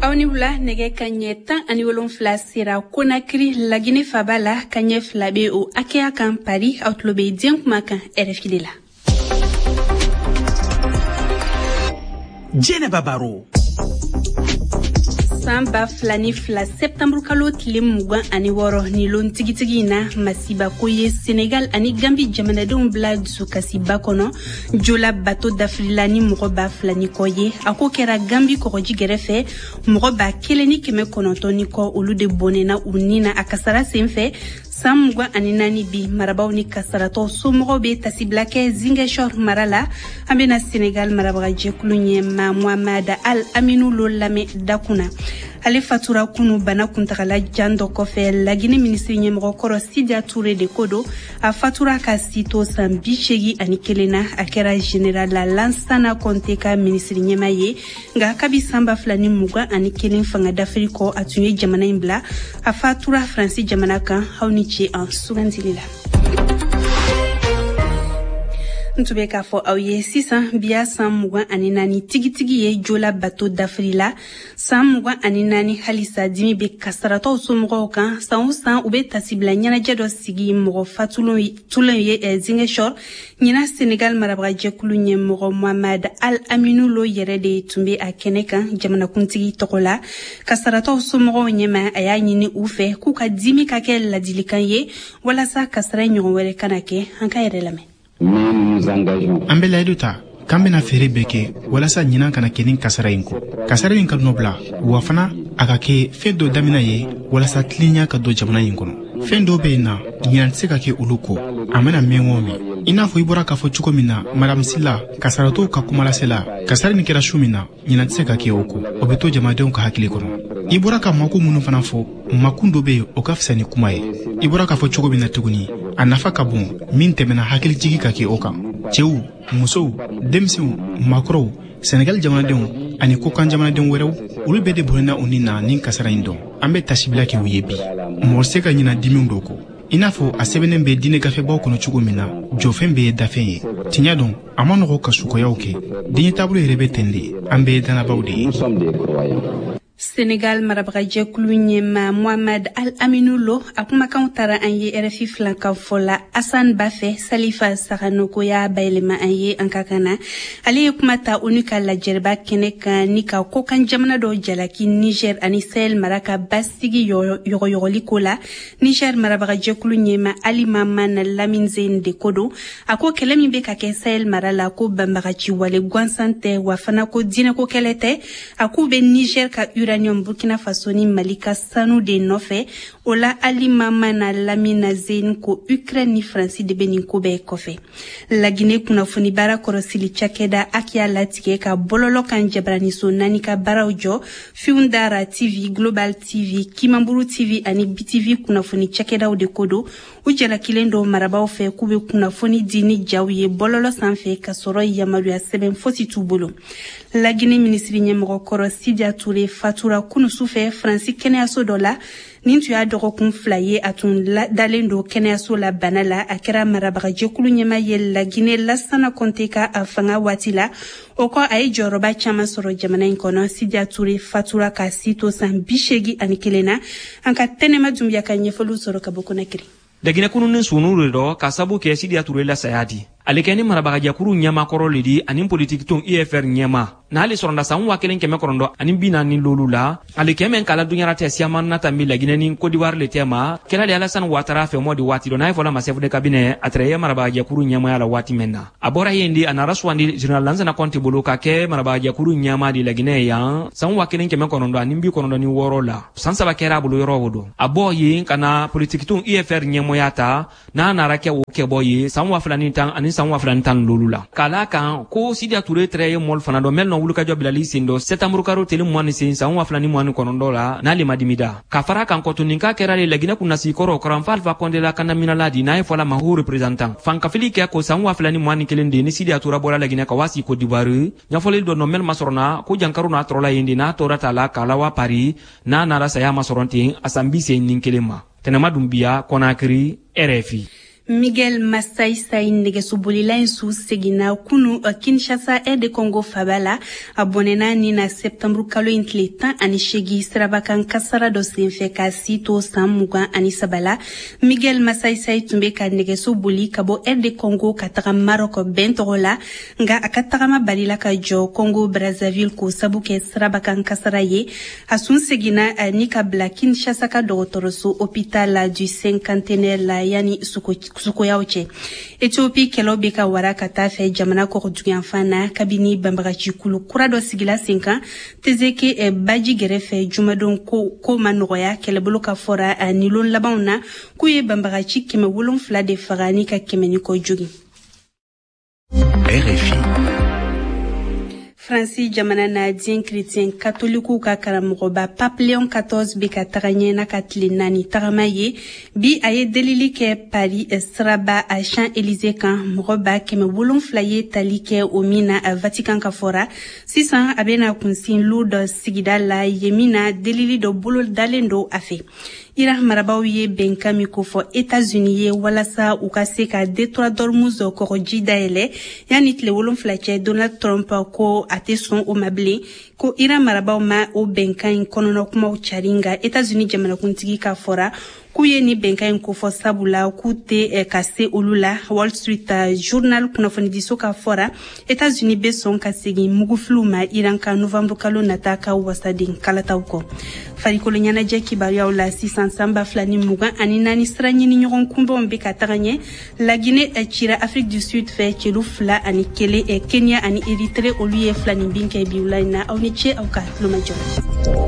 Aw ni wula. Nɛgɛ ka ɲɛ 17 sera Konakiri, Lagine faba la. Ka ɲɛ 2 be o hakɛya kan Paris. Aw tulo be diɲɛ kuma kan RFI de la. Jɛnɛba Baro. San 2002 sɛptanburu kalo tile 26, ni lon tigitigi in na, masibako ye Senegal ani Gambi jamanadenw bila dusukasiba kɔnɔ. Jola bato dafirila ni mɔgɔ 2000 ni kɔ ye. A ko kɛra Gambi kɔgɔji gɛrɛfɛ. Mɔgɔ 1900 ni kɔ, olu de bɔnɛna u ni na a kasara sen fɛ. San 24 bi, marabaw ni kasaratɔ somɔgɔw bɛ tasibila kɛ Ziguinchor mara la. An bɛna Senegal marabagajɛkulu ɲɛma Mohamed Al Aminu Lo lamɛn dakun na. Ale fatura kunu bana kuntagala jan dɔ kɔfɛ. Lagine minisiri ɲɛmɔgɔ kɔrɔ Sidia Toure de ko don. A fatura ka si to san 81 na. A kɛra général Lansana Conté ka minisiri ɲɛma ye, nka kabi san 2021 fanga dafiri kɔ, a tun ye jamana in bila. A fatura Faransi jamana kan. Aw ni ce an sugandili la. N tun bɛ k'a fɔ aw ye sisan, biya san 24 tigitigi ye Jola bato dafiri la. San 24, halisa dimi bɛ kasaratɔw somɔgɔw kan. San o san, u bɛ tasibila ɲɛnajɛ dɔ sigi mɔgɔ fatulenw ye Ziguinchor. Ɲinan, Senegal marabagajɛkulu ɲɛmɔgɔ Mohamed Al Aminu Lo yɛrɛ de tun bɛ a kɛnɛ kan jamanakuntigi tɔgɔ la. Kasaratɔw somɔgɔw ɲɛma, a y'a ɲini u fɛ k'u ka dimi ka kɛ ladilikan ye walasa kasara ɲɔgɔn wɛrɛ kana kɛ. An ka yɛrɛ lamɛn. An bɛ layidu ta k'an bɛna feere bɛɛ kɛ walasa ɲinan kana kɛ nin kasara in kɔ, kasara in ka nɔ bila, wa fana a ka kɛ fɛn dɔ daminɛ ye walasa tilenya ka don jamana in kɔnɔ. Fɛn dɔw bɛ yen na, ɲinan tɛ se ka kɛ olu kɔ, a mana mɛn o mɛn. I n'a fɔ i bɔra k'a fɔ cogo min na, Madame Sila, kasaratɔw ka kumalasela, kasara nin kɛra su min na, ɲinan tɛ se ka kɛ o kɔ, o bɛ to jamanadenw ka hakili kɔnɔ. I bɔra ka mako minnu fana fɔ, makun dɔ bɛ yen, o ka fisa ni kuma ye. I bɔra k'a fɔ cogo min na tuguni, a nafa ka bon min tɛmɛna hakilijigi ka kɛ o kan. Cɛw, musow, denmisɛnw, maakɔrɔw, Senegal jamanadenw ani kokan jamanadenw wɛrɛw, olu bɛɛ de bɔnɛna u ni na nin kasara in dɔn. An bɛ tasibila kɛ u ye bi. Mɔgɔ se ka ɲina dimiw dɔ kɔ. I n'a fɔ a sɛbɛnnen bɛ diinɛ gafebaw kɔnɔ cogo min na, jɔfɛn bɛɛ ye dafɛn ye. Tiɲɛ don, a ma nɔgɔ ka sukoyaw kɛ. Diɲɛ taabolo yɛrɛ bɛ ten de. An bɛɛ ye dannabaw de ye. Senegal marabagajɛkulu ɲɛma Mohamed Al Aminu Lo, a kumakanw taara an ye RFI filankan fɔ la Asan Ba fɛ. Salifa Saganoko y'a bayɛlɛma an ye an ka kan na. Ale ye kuma ta ONU ka lajɛrɛba kɛnɛ kan ni ka kokan jamana dɔw jalaki Niger ani Sahel mara ka basigi yɔgɔyɔgɔli ko la. Niger marabagajɛkulu ɲɛma Ali Maman Lamine Zeine de ko don. A ko kɛlɛ min bɛ ka kɛ Sahel mara la, ko banbagaci wale gansan tɛ, wa fana ko diinɛko kɛlɛ tɛ. A k'u bɛ Niger ka uranium, Burkina Faso ni Mali ka sanu de nɔfɛ. O la, Ali Mamana Lamina Zeine ko Ukraine ni Faransi de bɛ nin ko bɛɛ kɔfɛ. Lagine kunnafoni baara kɔrɔsili cakɛda aki y'a latigɛ ka bɔlɔlɔ kan jabaraniso naani ka baaraw jɔ: Fiundara TV, Global TV, Kimamburu TV ani BTV. Kunnafoni cakɛdaw de ko don. U jalakilen dɔ marabaw fɛ k'u bɛ kunnafoni di ni jaw ye bɔlɔlɔ sanfɛ ka sɔrɔ yamaruya sɛbɛn fosi t'u bolo. Lagine minisiri ɲɛmɔgɔ kɔrɔ Sidia Toure fatura kunu sufɛ Faransi kɛnɛyaso dɔ la. Nin tun y'a dɔgɔkun 2 ye a tun dalen don kɛnɛyaso la bana la. A kɛra marabagajɛkulu ɲɛma ye Lagine Lasana Kɔnte ka a fanga waati la. O kɔ, a ye jɔyɔrɔba caman sɔrɔ jamana in kɔnɔ. Sidia Toure fatura ka si to san 81 na. An ka Tɛnɛma Dunbiya ka ɲɛfɔliw sɔrɔ ka bɔ Konakiri. Laginɛ kununi sunu de dɔ ka sabu kɛ Sidiya Ture la saya di. Ale kɛ ni marabagajɛkuru ɲɛmakɔrɔ le di ani politiki UFR ɲɛma n'ale sɔrɔnda san 1945 la. Ale kɛ mɛn kala duɲara tɛ siyaman na tanbi Laginɛ ni Kodiwari le tɛma kɛla de Alassane Ouattara fɛ mɔ di waati dɔ n'a ye fɔla ma chef de cabinet. A tɛrɛ ye marabagajɛkuru ɲɛmaya la waati mɛn na. A bɔra yen di, a nara sugandi général Lansana Conté bolo ka kɛ marabagajɛkuru ɲɛma di Laginɛ yan san 1996 la. San 3 kɛra a bolo yɔrɔ o don. A bɔ yen ka na politiki UFR ɲɛmɔya ta, n'a nara kɛ o kɛbɔ ye san 2010 ani san 2015 la. K'a la kan ko Sidia Toure tɛrɛ ye mɔli fana dɔ mɛl nɔ wulikajɔ bilali sen dɔ sɛtanburu karo tele 28 san 2029 la, n'ale ma dimida ka fara kan kɔtuni k'a kɛra le Laginɛ kunnasi kɔrɔ Karanfa Alpha Condé la kandaminala di, n'a ye fɔla ma haut représentant. Fankafili kɛ ko san 2021 de ni Sidia Toure bɔra Laginɛ ka waasi Côte d'Ivoire. Ɲɛfɔli dɔ nɔ mɛl masɔrɔna ko jankaru n'a tɔrɔla yen de, n'a tora ta la k'a lawa Paris, n'a nara saya masɔrɔ ten a san 81 ma. Tɛnɛma Dunbiya, Kɔnakiri, RFI. Miguel Masaisai nɛgɛsobolila in su seginna kunu Kinshasa, RD Congo faba la. A bɔnɛna ni na septembre kalo in tile 18 sirabakan kasara dɔ senfɛ, ka si to san 23 la. Miguel Masaisai tun bɛ ka nɛgɛso boli ka bɔ RD Congo ka taga Maroc bɛn tɔgɔ la, nka a ka tagama balila ka jɔ Congo Brazzaville k'o sabu kɛ sirabakan kasara ye. A sun seginna ni ka bila Kinshasa ka dɔgɔtɔrɔso hôpital du Cinquantenaire la yanni sukoyaw cɛ. Ethiopie kɛlɛw bɛ ka wara ka taa fɛ jamana kɔgɔduguyanfan na, kabini banbagacikulu kura dɔ sigila sen kan Tezeke baji gɛrɛfɛ jumadon. Ko ma nɔgɔya kɛlɛbolo ka fɔra ni lon labanw na k'u ye banbagaci 700 de faga ni ka 100 ni kɔ jogin. RFI. Faransi jamana na, diɲɛ chrétien katolikiw ka karamɔgɔba Pape Léon 14 bɛ ka taga ɲɛ n'a ka tile 4 tagama ye. Bi, a ye delili kɛ Paris siraba a Champs Élysées kan, mɔgɔ 700 ba ye tali kɛ o min na. Vatican ka fɔra, sisan a bɛna kunsin Lourdes sigida la, yen min na delili dɔ bolo dalen don a fɛ. Iran marabaw ye bɛnkan min kofɔ Etats-Unis ye walasa u ka se ka détroit d'Ormuz kɔgɔji dayɛlɛ yanni tile 7 cɛ, Donald Trump ko a tɛ sɔn o ma bilen, ko Iran marabaw ma o bɛnkan in kɔnɔna kumaw cari. Nka Etats-Unis jamanakuntigi ka fɔra k'u ye ni bɛnkan in kofɔ sabula k'u tɛ ka se olu la. Wall Street Journal kunnafonidiso ka fɔra, Etats-Unis bɛ sɔn ka segin mugufiliw ma Iran ka novembre kalo nata ka wasaden kalataw kɔ. Farikolo ɲɛnajɛ kibaruyaw la sisan, san 2024 sira ɲini ɲɔgɔn kunbɛnw bɛ ka taga ɲɛ. Laginɛ cira Afrique du Sud fɛ celu 2-1. Kenya ani Eritre, olu ye 2 ni bin kɛ bi wula in na. Aw ni ce aw ka tulomajɔ.